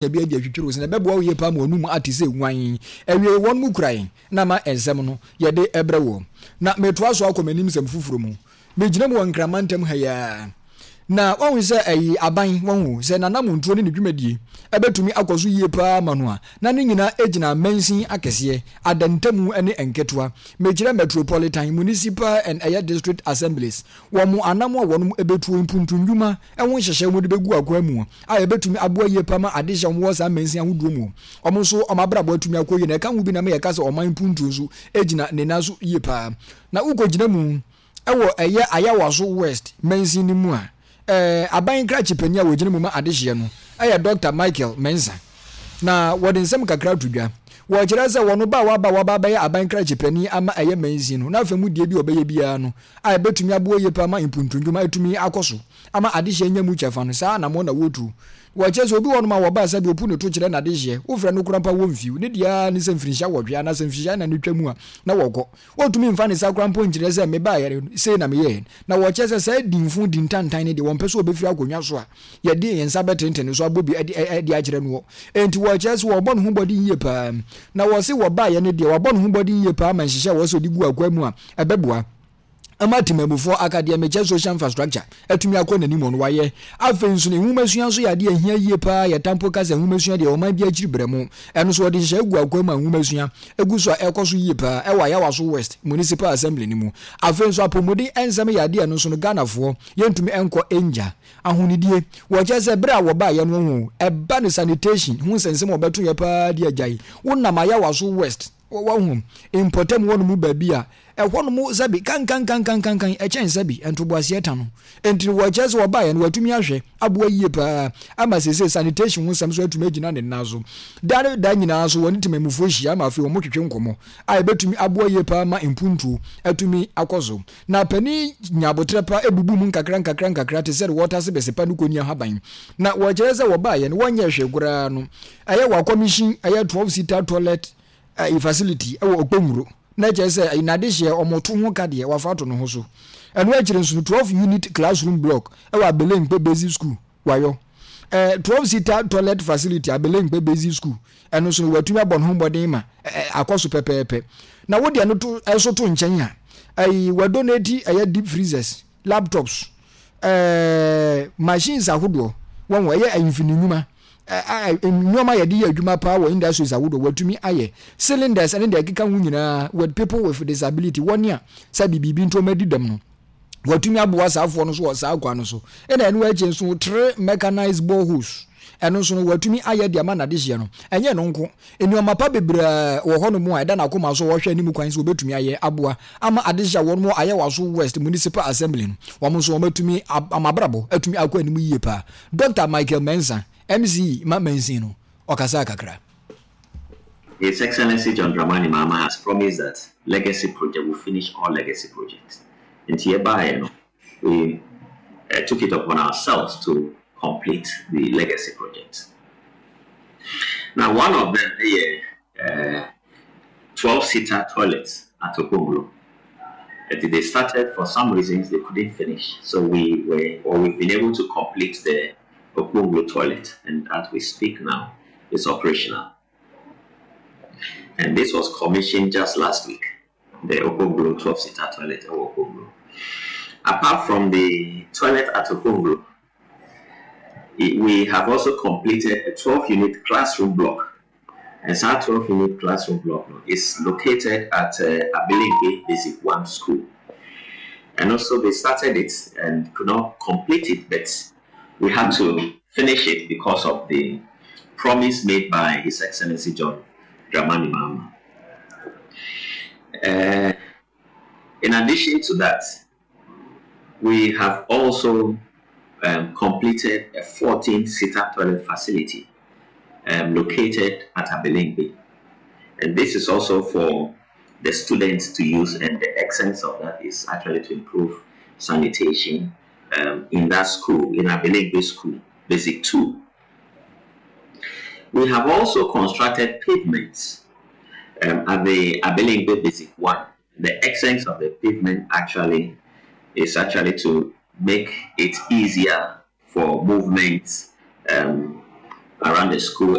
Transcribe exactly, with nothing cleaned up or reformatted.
Bi adi atwitwiri wo sɛ na ɛbɛboa wo yie paa ma w'anum ate sɛ nwan. Awiei wɔn mu kura yɛn na ama nsɛm no yɛde brɛ woɔ. Na metoa so akɔ m'anim nsɛm foforɔ mu. Megyina mu wɔ Nkran mantam ha yi ara. Na wahu sɛ ɛyi aban, wahu sɛ n'anamontuo ne ne dwumadie ɛbɛtumi akɔ so yie paa ama no a, na ne nyinaa gyina mansin akɛseɛ, adantamu ne nketewa. Mekyerɛ Metropolitan, Municipal and ɛyɛ District Assemblies. Wɔn anam a wɔn bɛtuo, mpuntu nnwuma ho nhyehyɛe a wɔde bɛgu akwan mu a ɛbɛtumi aboa yie paa ma adehyeɛ a wɔwɔ saa mansin ahodoɔ mu wɔn nso wɔn abrabɔ atumi akɔ yie na ɛka ho bi na ma yɛka sɛ ɔman mpuntuo nso gyina ne nan so yie paa. Na wokɔgyina mu wɔ ɛyɛ Ayawaso West mansin no mu a, ɛɛ aban krakye panin a wɔgyina mu ma adehyeɛ no yɛ Dɔkta Michael Mensah. Na wɔde nsɛm kakra to dwa. Wɔkyerɛ sɛ wɔn ba a waba a waba abɛyɛ aban krakye panin ama ɛyɛ mansin no, n'afa mu deɛ bi a ɔbɛyɛ biara no a ɛbɛtumi aboa yie paa ma mpuntu-ndwuma atumi akɔ so ama adehyeɛ anya mu kyɛfa no, saa anammɔn na wɔretu. Wɔkyerɛ sɛ obi wɔ hɔnom a wɔba sɛdeɛ ɔpu ne to kyerɛ n'adehyeɛ, wofrɛ no koraa mpo a wɔmfiw, ne deɛ ara ne sɛ mfirinhyia nwɔtwe anaasɛ mfirinhyia nnan no twa mu a na wɔkɔ. Wɔntumi mfa ne nsa koraa mpo nkyerɛ sɛ mebaeɛ no sei na meyɛeɛ. Na wɔkyerɛ sɛ saa dinfo di ntantan no deɛ wɔmpɛ sɛ wɔbɛfiri akonnwa so a yɛde yɛn nsa bɛtentene no so abɔ bi de de akyerɛ noɔ. Enti wɔkyerɛ sɛ wɔbɔ ne ho mmɔden yie paa. Na wɔse wɔbaeɛ no deɛ wabɔ ne ho mmɔden yie paa ma nhyehyɛɛ a wɔsɛ ɔde gu akwaa mu a ɛbɛboa ama temanmufoɔ aka deɛ mekyɛ social infrastructure atumi akɔ n'anim no wayɛ. Afei nso no nwomasua nso yɛ adeɛ a ɛhia yie paa. Yɛtaa mpo ka sɛ nwomasua deɛ ɔman bi akyiri brɛ mo. Ɛno nso wɔde nhyehyɛeɛ gu akwaa mu a nwomasua gu so a ɛkɔ so yie paa ɛwɔ Ayawaso West Municipal Assembly no mu. Afei nso apɔmuden nsɛm yɛ adeɛ a ɛno nso no Ghanafoɔ yɛntumi nkɔ nngya. Ahonidie, wɔkyerɛ sɛ berɛ a wɔbaeɛ no ho ɛba no sanitation ho nsɛnsɛm a wɔbɛto yɛ paa de agyae. Wonam Ayawaso West Wahu? Mpɔtam hɔ nom baabi a, ɛhɔ nom sɛbi kankankankankan ɛkyɛn sɛbi ntoboaseɛ ta no. Enti no wɔkyerɛ sɛ wɔbaeɛ no wɔatumi ahwɛ aboa yie paa ama seesei sanitation ho nsɛm nso atumi agyina ne nan so. Da ne da nyinaa nso wɔne temanmufoɔ hyia ma afei wɔtwetwe nkɔmmɔ a ɛbɛtumi aboa yie paa ma mpuntuo atumi akɔ so. Na panin nya aboterɛ pa bubu mu nkakra nkakra nkakra te sɛ deɛ wɔretase bɛsepa no kɔni ahaban. Na wɔkyerɛ sɛ wɔbaeɛ no wɔnyɛɛ hwee koraa no ɛyɛ wɔakɔmihyin ɛyɛ twelve seater toilet ɛyi facility ɛwɔ Okponguro na ɛkyerɛ sɛ ɛyi n'adehyeɛ wɔn to ho ka deɛ wafa ato ne ho so. Ɛno akyire nso no twelve unit classroom block ɛwɔ Abelenkpe Basic School wayɔ. Ɛɛ twelve seater toilet facility Abelenkpe Basic School ɛno nso no watumi abɔ ne ho mmɔden ma ɛɛ akɔ so pɛpɛɛpɛ. Na wo deɛ no to ɛnso to nkyɛn a ɛyi wadonate ɛyɛ deep freezers, laptops, ɛɛ machines ahodoɔ wɔn ɛyɛ mfini nnwuma nneɛma yɛde yɛ adwuma paa wɔ industries ahodoɔ wɔatumi ayɛ cylinders ne deɛ ɛkeka ho nyinaa with people with disability wɔn a sɛ biribi nti wɔn adi dɛm no wɔatumi aboa saa afoɔ no so wɔ saa kwan no so ɛna ɛno akyi nso three mechanized boreholes ɛno nso no wɔatumi ayɛ de ama n'adehyeɛ no ɛnyɛ no nko nneɛma pa bebree wɔ hɔnom a ɛda n'akoma so wɔhwɛ anim kwan sɛ wɔbɛtumi ayɛ aboa ama adehyeɛ a wɔn Ayawaso West Municipal Assembly no wɔn nso wɔatumi ama abrabɔ atumi akɔ anim yie paa. Doctor Michael Mensah, M C E ma mansin no, ɔkasaa kakra. His Excellency John Dramani Mahama has promised that legacy project will finish all legacy projects. Nti yɛbaeɛ no, we uh, took it upon ourselves to complete the legacy projects. Now, one of them is uh, twelve-seater toilets at Okponglo. They started, for some reasons, they couldn't finish. So we were, or we've been able to complete the Okponglo toilet, and as we speak now, it's operational. And this was commissioned just last week, the Okponglo twelve-seater toilet at Okponglo. Apart from the toilet at Okponglo, we have also completed a twelve-unit classroom block. And that twelve-unit classroom block is located at uh, Abelemkpe Basic one School. And also they started it and could not complete it, but we had to finish it because of the promise made by His Excellency John Dramani Mahama. Uh, in addition to that, we have also um, completed a fourteen-seater toilet facility um, located at Abelemkpe. And this is also for the students to use, and the essence of that is actually to improve sanitation um, in that school, in Abelemkpe School, Basic two. We have also constructed pavements um, at the Abelemkpe Basic one. The essence of the pavement actually is actually to make it easier for movement um, around the school.